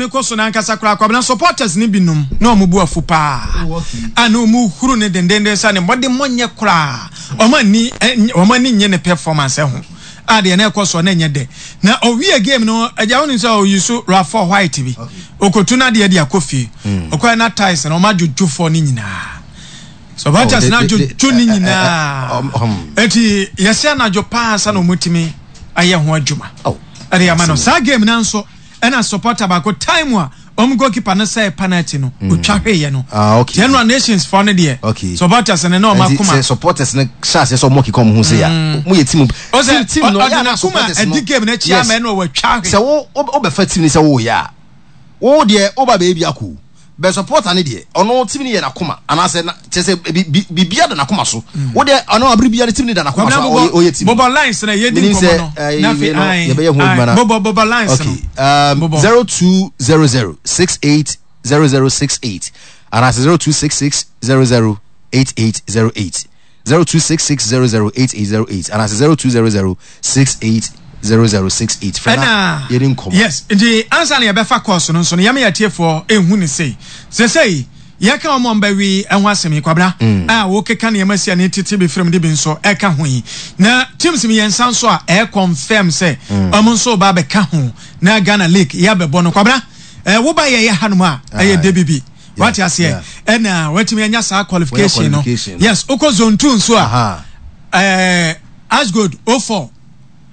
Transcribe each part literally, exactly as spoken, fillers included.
kɔ so n'ankasa koraa, Kwabena, supporters ne binom na ɔmo bu afu paa Oh, okay. A na ɔmo huru ne dendenden sɛ ne mmɔde mmɔnyɛ koraa, ɔmo ani ɛ- ɔmo ani nye ne performance ho a deɛ na ɛkɔ so na ɛnyɛ dɛ. Na ɔwie game no, agya, wɔn sɛ ɔyi so Rafa white bi okotu na deɛ de akɔ fie, ɔkɔɛ na tiles na ɔmo adwodwo fɔ ne nyinaa, supporters Oh, na de- de- adwodwo ne eh, eh, eh, nyinaa. um, um. Eti yɛsɛ anadwo paa sa na ɔmo tumi ayɛ ho adwuma Oh. ɛde ama no. Saa game na nso ɛna supporter baako, time a ɔmo goalkeeper no sɛ penalty no, otwa hweyɛ no. Ah, okay. General Nations fɔ no deɛ, Okay. supporters no na ɔmo Nti akoma sɛ supporters no hyɛ aseɛ sɛ ɔmo keka ɔmo ho sɛ ya mo yɛ team. Ɔsɛ team no ɔde yɛ ana n'akoma supporters no ɛdi game n'akyi Yes. ama ɛna ɔwatwa hwe. Sɛ wo wo wobɛfa team ni sɛ woyɛ a, wo deɛ woba baabi akɔ bɛ supporter ne deɛ, ɔno team ni yɛ n'akoma anaasɛ na kyerɛ sɛ bi bi biribiara da n'akoma so. Wo deɛ, ɔno abiri biara team ni da n'akoma so a ɔyɛ ɔyɛ team. Bɔbɔ lines na yɛdi Menim nkɔmɔ sɛ, no eh, na afei wei no, ae, yɛbɛyɛ ho adwuma ae, na- bɔbɔ bɔbɔ lines Okay. no. Um, Bɔbɔ. zero two zero zero six eight zero zero six eight anaasɛ zero two six six zero zero eight eight zero eight zero two six six zero zero eight eight zero eight anaasɛ zero two zero zero six eight zero zero six eight. Fɛ na Ɛna yɛdi nkɔmɔ. Yes, nti ansa na yɛbɛfa course no nso no, yɛma yɛtiefoɔ ɛhu ne sei sɛsɛi yɛka wɔn a ɔmbɛwi ɛho asɛm yi, Kwabena, a wokeka nneɛma si a ne tete bi firim de bi nso ɛka ho yi, na teams mmiɛnsa nso a ɛyɛ confirm sɛ ɔmo nso ba abɛka ho na Ghana League yɛabɛbɔ no, Kwabena, ɛɛ woba yɛyɛ hanom a ɛyɛ Aye. de bi wate aseɛ, ɛna watumi anya saa qualification no. Qualification. Yes, wokɔ zone two nso a, Aha. ɛɛ Ashgold o four.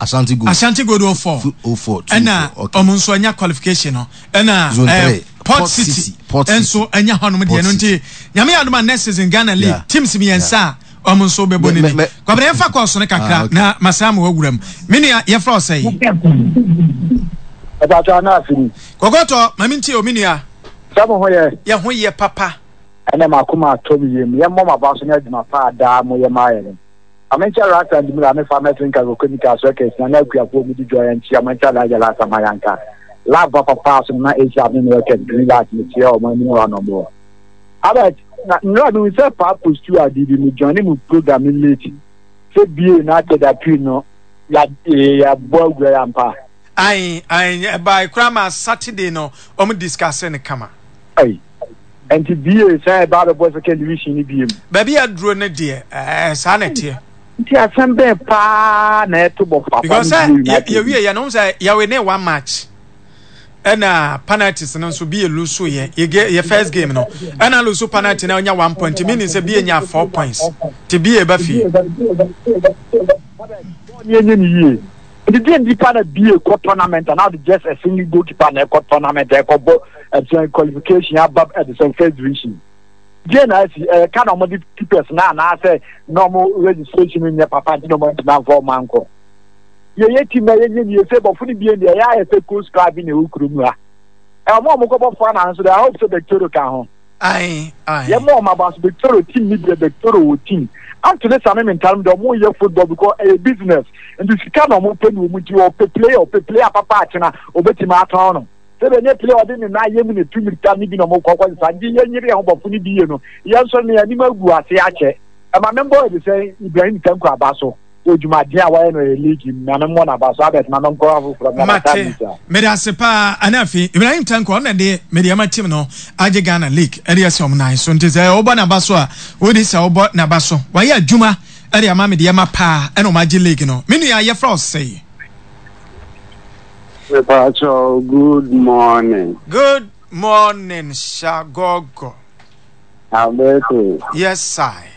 Ashanti Gold. Ashanti Gold o four. O four two ɛna four, okay. ɔmo nso anya qualification no, ɛna Zone ɛɛ, three, Port Port City, City, Port City. Nso anya hɔnom deɛ Port no. City. Nti Nyame yɛ adom a, next season Ghana League, Yeah. teams mmiɛnsa a ɔmo nso bɛbɔ Me- ne me- ni. me- Kwabena, yɛmfa kɔɔso no kakra. Ah, okay. Na masan ma wawura mu. Me nua, yɛfrɛ wo sɛ? Ɛbàtà náà fi. Kɔkɔtɔ mame ntie o, me nua. Sɛ mo ho yɛ? Yɛ ho yɛ papa. Ɛnɛ mako ma atɔ mi yam, yɛmmɔ ma ba so ne adwuma pa a daa mo yɛ maa yɛ no. Ame nkyɛ rasta ndimira me fa mɛtiri nka koko nika so ɛkɛ sina na akuafoɔ mu di dwa yɛn nkyia mo nkyɛ alagya lasa ma yanka lab papa paa so na asia ne ne ɛkɛ green light ne kyerɛ ɔmo anim hɔ anɔmɔ abɛ na nnura mi sɛ paa post ade bi mi join mu program mi late sɛ bie na atɛda pii no ya yɛabɔ awura yɛ ampa. Ayi ayi, ɛbaa kura ma Saturday no ɔmo discuss ne kama. Ayi, nti bie sɛ ɛba abɛbɔ second division ni bie mu. Baabi aduro no deɛ, ɛɛ saa na ɛteɛ. Nti asɛm bɛn paa na ɛto bɔ papa because ne sɛ bie United? Yɛwie yɛ no sɛ yɛwe ne one match, ɛna penalties no nso bi yɛ lose yɛ yɛ yɛ first game no, ɛna lose penalty na ɔnya one point, meaning sɛ bi yɛ nya four points te bi yɛ ba fie. Bɔɔl ni enye ni yie, nti deɛ nipa na bie kɔ tournament and now just a single goalkeeper na ɛkɔ tournament, ɛkɔ bɔ ɛsɛn qualification aba ɛde first division deɛ na asi ɛyɛ ka na ɔmo de keepers na anaasɛ na ɔmo registration nyɛ papa, nti na ɔmo ntoma nfa ɔmo ankɔ. Yɛyɛ team na yɛnyɛ nie sɛ bɔfo no bie deɛ ɛyɛ ayɛ sɛ coast club bi na ɛwɔ kurom ha. Ɛ ɔmo a ɔmo kɔbɔ fa na nso deɛ, I hope sɛ Bectoro ka ho. Ayi ayi. Yɛ mɔ ɔmo aba so Bectoro team ni deɛ, Bectoro wɔ team Antony Sami Mintarum deɛ, ɔmo yɛ football because ɛyɛ business, nti sika na ɔmo pɛ ne wɔn, nti ɔpɛ player ɔpɛ player papa akyena obetumi atɔn no sɛ bɛ nye player ɔde ne nan yɛ mu ne tu mirika ne bi na ɔmo kɔ kɔ sisan. Nti yɛn nyere yɛn ho bɔfo ne bi yie no, yɛn nso ne anim agu ase akyɛ. Ɛma me mbɔ ɛde sɛ Ibrahim Tanko aba so odwumaden a wɔyɛ no yɛ league mu na me mmɔ n'aba so abɛt ma me nkɔ afoforɔ na Mate, mede ase paa. Ana afei Ibrahim Tanko, ɔna de mede ama team no agye Ghana League ɛde ɛsɛ ɔmo nan so, nti sɛ wobɔ n'aba so a, wodi sɛ wobɔ n'aba so, wayɛ adwuma ɛde ama mede ama paa, ɛna ɔmo agye league no. Me nua, yɛfrɛ wo sɛe? Mepacho, good morning. Good morning, Shagogo. Alberto. Yes, I.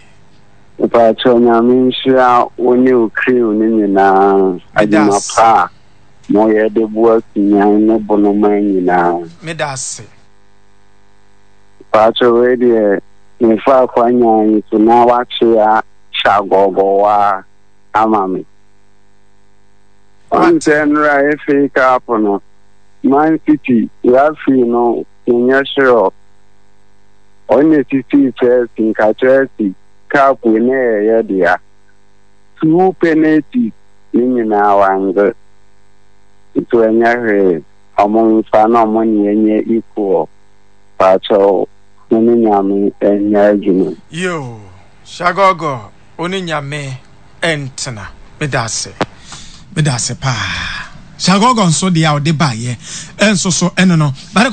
Mepacho, Nyame nhyira wo ne wo crew ne nyinaa. Adwuma pa a moyɛ de boa Sunyan ne Bonoman nyinaa. Meda ase. Mepacho, wei deɛ mefa akwanya yi so na wakyea Shagogo ama me. Ɔn sɛ nnora F A Cup no, Man City referee no menyɛ sure ɔne sisi Chelsea, nka Chelsea cup ne ɛyɛ dea. Two penalties ne nyinaa wangye, nti ɛnyɛ hwee, ɔmo mfa na ɔmo ne ɛnyɛ equal. Paakyɛw, mo ne Nyame ɛnyɛ adwuma. Yo, Shagogo, one Nyame ɛntena. Meda ase, meda ase paa, Shagogo. Nso deɛ a ɔde baayɛ ɛnso so ɛno no bade.